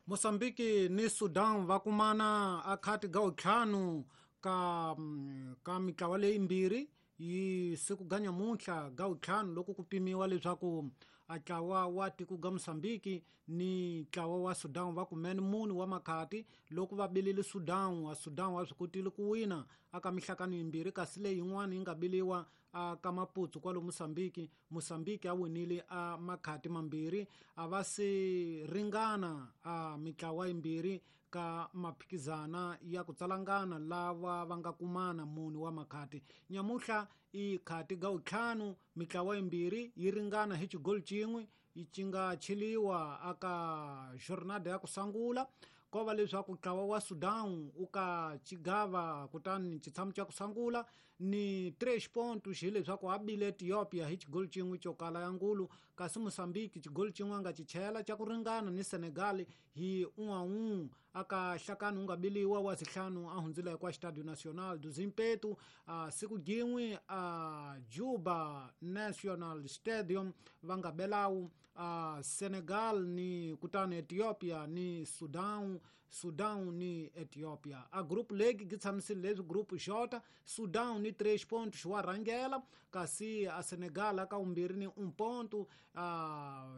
Mozambique ni Sudan va kumana a khati ga ntlhanu ka mitlawa leyimbirhi yi siku ga nyamuntlha ga ntlhanu loko ku pimiwa leswaku a ntlawa wa tiko ga Mozambique ni ntlawa wa Sudan va kumene mune wa makhati loko va bilile Sudan wa Sudan wa swi kotile ku wina aka mihlakano yimbirhi kasi leyi yin'wana yi nga biliwa a ka Maputo kwalo Mozambique. Mozambique a winile a makhati mambirhi a va se ringana a mitlawa yimbirhi ka maphikizana ya ku tsalangana lava va nga kumana mune wa makhati. Nyamuhla i khati ga ntlhanu mitlawa yimbirhi yi ringana hi xigoli xin'we yi nga cheliwa aka jornada ya ku sungula ko va leswaku ntlawa wa Sudan u ka xigava kutani xitshamo xa ku sungula ni 3 pontos hileswaku a bile Ethiopia hi xigoli xin'we xo kala ya ngulu kasi Mozambique xigoli xin'we a nga xi chela xa ku ringana ni Senegal hi 1-1 aka hlakano wu nga biliwa wa sihlanu a hundzile kwa Estádio Nacional do Zimpeto a siku jin'we a Juba National Stadium va nga belawu a Senegal ni kutani Ethiopia ni Sudan, Sudan ni Ethiopia. A group league gi tshamisile leswi group J, Sudan ni 3 pontos wa rhangela kasi a Senegal aka vumbirhi ni 1 ponto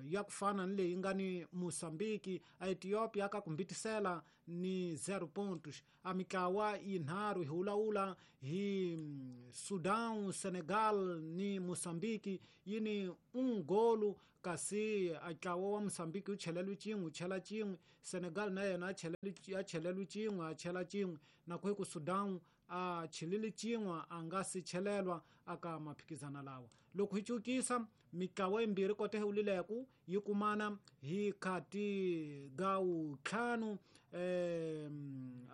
ya ku fana ni leyi nga ni Mozambique. A Ethiopia aka kumbitisela ni 0 pontos. A mitlawa yinharhu hi wulawula hi Sudan, Senegal ni Mozambique yi ni 1 golu kasi a ntlawa wa Mozambique wu cheleliwe xin'we wu chela xin'we, Senegal na yena a cheleliwe xin'we a chela xin'we, na ku ku Sudan a chelile xin'we a nga si chelelwa aka maphikizana lawa. Loko hi cukisa mitlawa yimbirhi kota hi wulileku yi kumana hi khati ga ntlhanu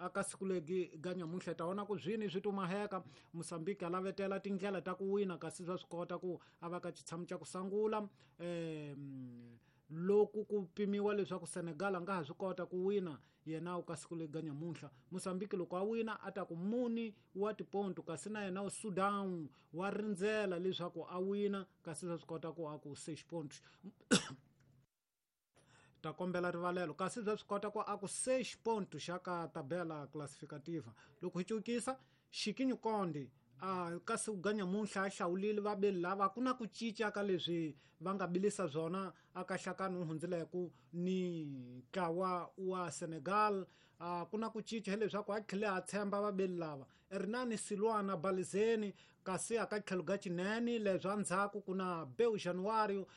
aka siku legi ga nyamuntlha ta vona ku zwini swi tumaheka. Mozambique a lavetela tindlela ta ku wina kasi swa swi kota ku a va ka xitshamo xa ku sungula loko ku pimiwa leswaku Senegal a nga ha swi kota ku wina yena u ka siku legi ga nyamuntlha. Mozambique loko a wina a ta ku muni wa tiponto kasi na yena Sudan wa rindzela leswaku a wina kasi swa swi kota ku a ku 6 pontos ta kombela rivalelo kasi swa swi kota ku a ku 6 pontos xa ka tabela classificativa. Loko hi cukisa Chiquinho Conde a kasi ku ga nyamuntlha a hlawulile vabeli lava ku na ku cinca ka leswi va nga bilisa swona aka hlakano wu hundzileku ni ntlawa wa Senegal. Ku na ku cinca hileswaku a tlhele a tshemba vabeli lava Hernani Silwana Balizeni kasi aka tlhelo ga Chinene leswi endzhaku ku na Beu Januario,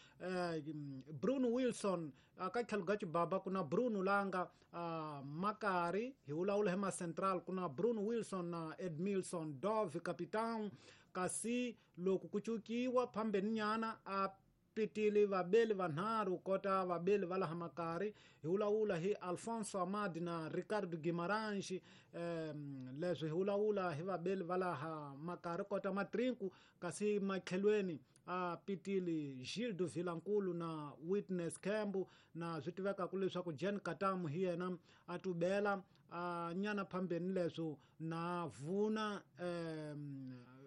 Bruno Wilson aka tlhelo ga Chibaba ku na Bruno Langa, Makari hi vulavula hi ma Central ku na Bruno Wilson na Edmilson Dove capitão. Kasi loko ku cukiwa phambeni nyana a pitile vabeli vanharhu kota vabeli va laha Makari hi vulavula hi Alfonso Amad na Ricardo Guimarães. Leswi hi vulavula hi vabeli va laha Makari kota Matrinku kasi matlhelweni a pitile Gildo Vilankulu na Witness Kembu na swi tivekaka leswaku Jen Katamu hi yena a tubela a nyana phambeni leswo na vuna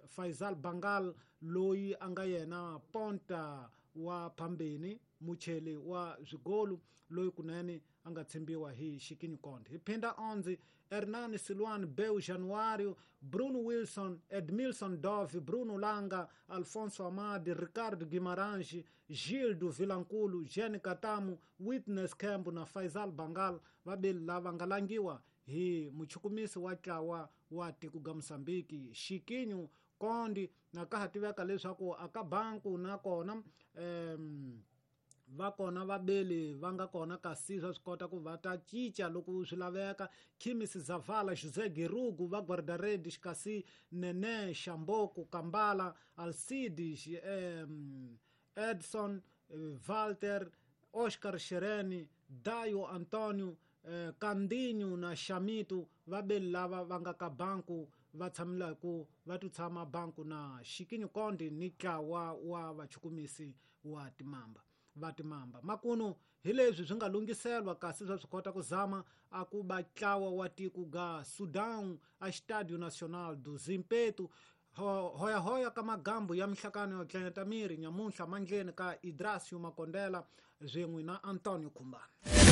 Faisal Bangal loyi a nga yena ponta wa phambeni mucheli wa swigolu loyi kunene a nga tshembiwa hi Chiquinho Conde. Hi phinda 11 Hernani Silwan, Beu Januario, Bruno Wilson, Edmilson Dove, Bruno Langa, Alfonso Amadi, Ricardo Guimarães, Gildo Vilankulu, Jean Katamu, Witness Kembu na Faisal Bangal vabeli lava nga langiwa hi muchukumisi wa ntlawa wa tiko ga Mozambique Chiquinho Conde. Na ka ha tiveka leswaku aka banku na kona va kona vabeli va nga kona kasi swa swi kota ku va ta cinca loko swi laveka. Khimis Zavala, José Girugu va guarda-redes kasi Nene Shamboko, Kambala, Alcides, Edson, Walter, Oscar Shereni, Dayo Antonio, Kandinho na Shamito vabeli lava va nga ka banku va tshamelaku va ti tshama banku na Chiquinho Conde ni ntlawa wa vachukumisi wa timamba va timamba. Makuno hi leswi swi nga lunghiselwa kasi swa swi kota ku zama a ku ba ntlawa wa tiko ga Sudan a Estádio Nacional do Zimpeto. Hoyahoya ka magambu ya mihlakano yo tlanyata miri nyamuntlha mandleni ka Idrasio Makondela swin'we na Antonio Khumbane.